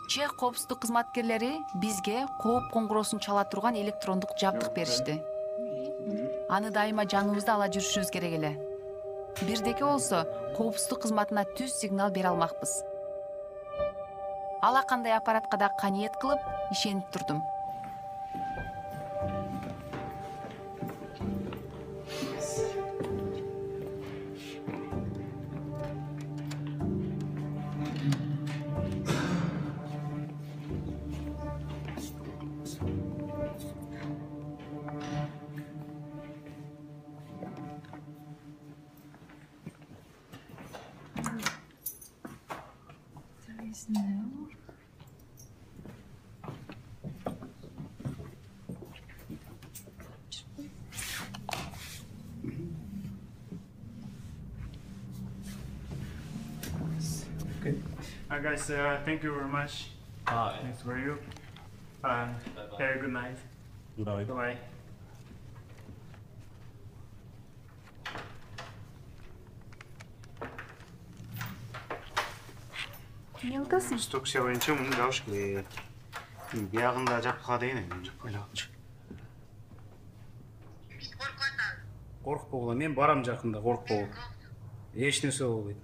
Чех коопсуздук кызматкерлери бизге кооп коңгуроосун чала турган электрондук жабдык беришти. Аны дайыма жаныбызда ала жүрүшүбүз керек эле. Бирдеке болсо коопсуздук кызматына түз сигнал бере алмакпыз. Ала кандай аппаратка да каниет кылып, ишенип турдум. Okay. Guys, thank you very much. Thanks for you. Have a good night. Good night. Bye. Не удасың? Инструкция боюнча муну жабыш керек. Биягында жапкага дейин эми жаппай эле. Коркпогула, мен барам жакында, коркпогула. Эч нерсе болбойт.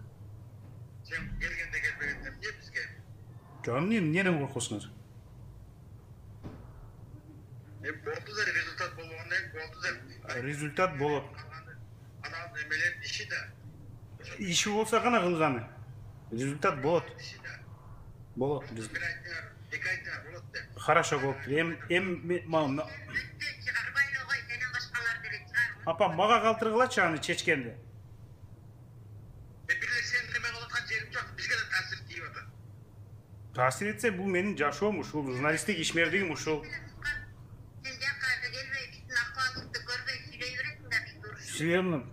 Сен келгенде келбегенде эмне бизге? Жок, эмнеден коркосуңар? Болду да результат болгондон кийин болду да. Результат болот. Анан эмелер иши да. Иши болсо гана кылганы. Результат болот. Болот. Бир айда, эки айда болот да. Хорошо болуп. Апа, мага калтыргылачы аны чечкенди. Бир сен неме кылып аткан жерим жок, бизге да таасир тийип атат. Таасир этсе, бул менин жашоом ушул, журналисттик ишмердигим ушул. Сен жакка келбей, биздин акыбарыбызды көрбөй сүйлөй бересиң да биз уруш. Сүйлөйм.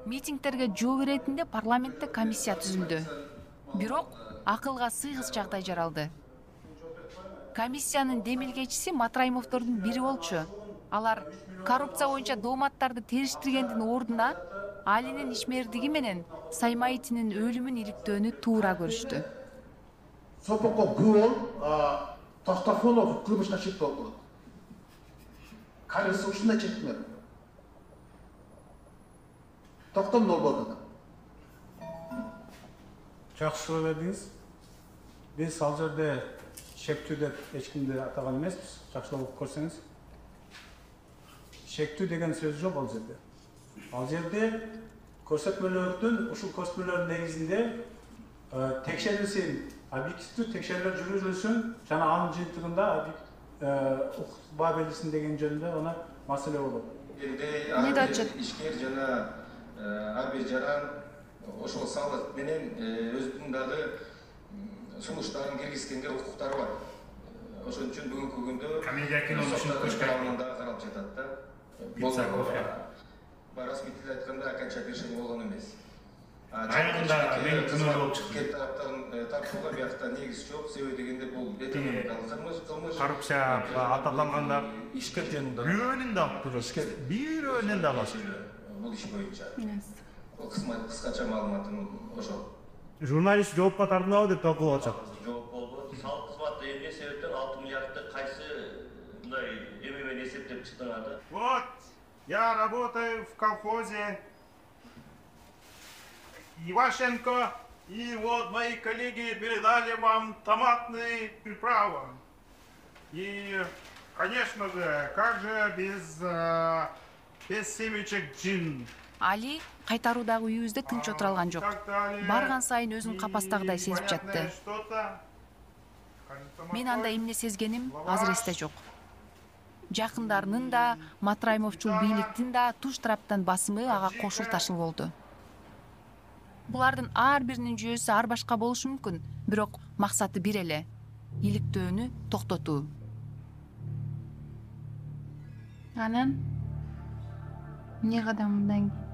Митингтерге жол иретинде парламентте комиссия түзүлдү. Бирок акылга сыйгыс жагдай жаралды. Комиссиянын демилгечиси Матраимовдордун бири болчу. Алар коррупция боюнча дооматтарды териштиргендин ордуна Алинин ишмердиги менен Саймаитинин өлүмүн иликтөөнү туура көрүштү. Сопокко гүл, Тостафонов кылмышка чек болду. Кайсы ушундай чектер? Токтом болбоду. Жакшы суроо бердиңиз. Биз ал жерде шектүү деп эч кимди атаган эмеспиз. Жакшылап көрсөңүз. Шектүү деген сөз жок ал жерде. Ал жерде көрсөтмөлөрдүн, ушул көрсөтмөлөрдүн негизинде текшерилсин, объективдүү текшерүүлөр жүргүзүлсүн жана анын жыйынтыгында укук берилсин деген жөнүндө она маселе болот. Эмне да отчет? Ишкер жана ар бир жаран ошол салык менен өзүнүн дагы сунуштарын киргизгенге укуктары бар. Ошон үчүн бүгүнкү күндө Комедия кино үчүн тарабынан дагы каралып жатат да. Расмий тилде айтканда оконча решение болгон эмес. Айында мен күнөө болуп чыкты. Кеп тараптан тартууга биякта негиз жок, себеби дегенде бул экономикалык кылмыш. Коррупция аталганда Ишкер жөнүндө. бирөөнүн да бирөөнүн да бар. Бул иш боюнча. Кыскача маалыматым ошол. Журналист жоопко тартылабы деп талкуулап атышат. Жооп болбойт. Салык кызматы эмне себептен 6 миллиардты кайсы мындай эме менен эсептеп чыктыңар да? Вот, я работаю в колхозе Ивашенко, и вот мои коллеги передали вам томатные приправы. И, конечно же, как же без семечек джин. Али кайтаруудагы үйүбүздө тынч отура алган жок. Барган сайын өзүн капастагыдай сезип жатты. Мен анда эмне сезгеним азыр эсте жок. Жакындарынын да, Матраимовчул бийликтин да туш тараптан басымы ага кошул ташыл болду. Булардын ар биринин жүйөсү ар башка болушу мүмкүн, бирок максаты бир эле — иликтөөнү токтотуу. Анан эмне кадам мындан кийин?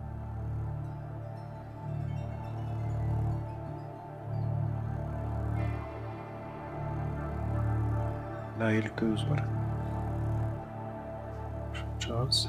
Да, иликтөөбүз бар. Чыгабыз.